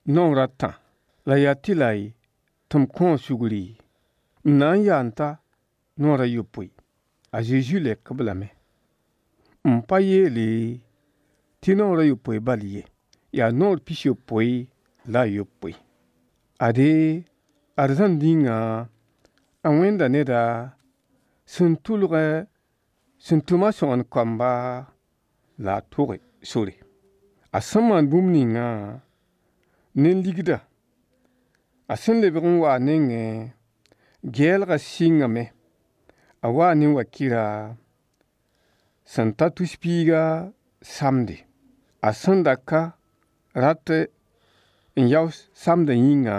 Naoor a tã la yaa tɩlai tɩ m kõ-a sugri? M na n yaa n ta naoor a yopoe. A Zezi leok-b lame: M pa yeele tɩ naoor a yopoe bal ye, yaa naoor pisopoe la a yopoe. Ade, arzãn dĩngã a wẽnda neda sẽn tʋlgẽ sẽn tʋma sõgen-kamba la a toge sore. A sẽn maan bũmb ningã ne ligdã, a sẽn lebg n wa a nengẽ, gɛɛlgã sɩngame. A waa ne wakɩra sẽn ta tus-piiga samde. A sẽn da ka rat n yao samdã yĩnga,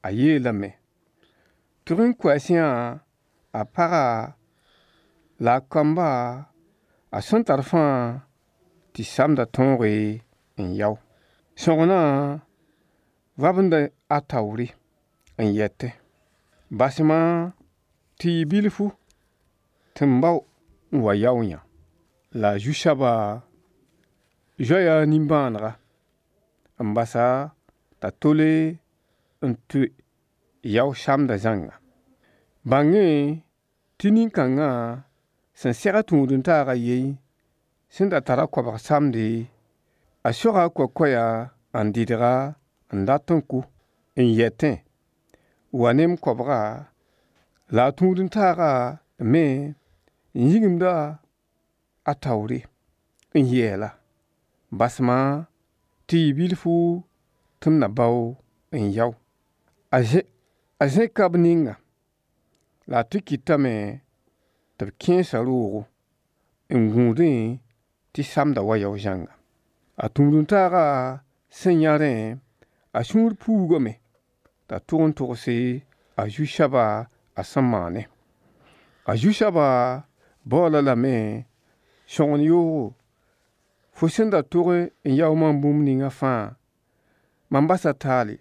a yeelame: Tʋg n kʋ a sẽyã a paga la a kamba a sẽn tar fãa tɩ samdã tõoge n yao. Sõgenã vabenda a taoore n yetẽ: Bas-ma tɩ yɩ bilfu tɩ m bao n wa yao yã. La a Zu-soaba zoaya a nimbãanega n bas-a t'a tole n tʋ yao samdã zãnga. Bãng-y tɩ nin-kãngã sẽn seg a tũud-n-taag a yen sẽn da tar a koabg samde, a soga a koakoya n dɩdg-a n dat n kʋ, n yetẽ: Wa ne m koabga. La a tũud-n-taagã me n yĩgimda a taoore n yeel-a: Bas-ma tɩ yɩ bilfu tɩ m na bao n yao. A zẽka b ninga, la a tɩ kɩtame tɩ b kẽes-a roogo n gũudẽ tɩ samda wa yao zãnga. A tũud-n-taagã sẽn yã rẽ, a sũur puugame t'a tʋg n togse a Zu-soaba a sẽn maanẽ. A Zu-soaba baool-a lame sõgen yoogo, fo sẽn da tog n yao maam bũmb ninga fãa, mam basa taale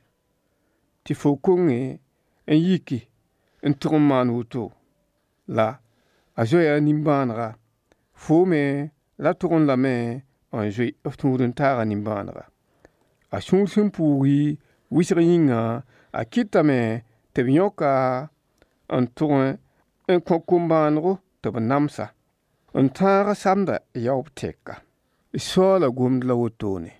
tɩ fo konge n yiki n tʋg n maan woto. La a zoaya a nimbãanega. Foo me ra tʋgẽ lame n zoe f tũud-n-taagã nimbãanega. A sũur sẽn puugi wɩsg yĩnga, a kɩtame tɩ b yõk-a n tʋg n kõ kom-bãanego tɩ b nams-a, n tãag samda yaoob tɛka. Soaala gomd la wotone.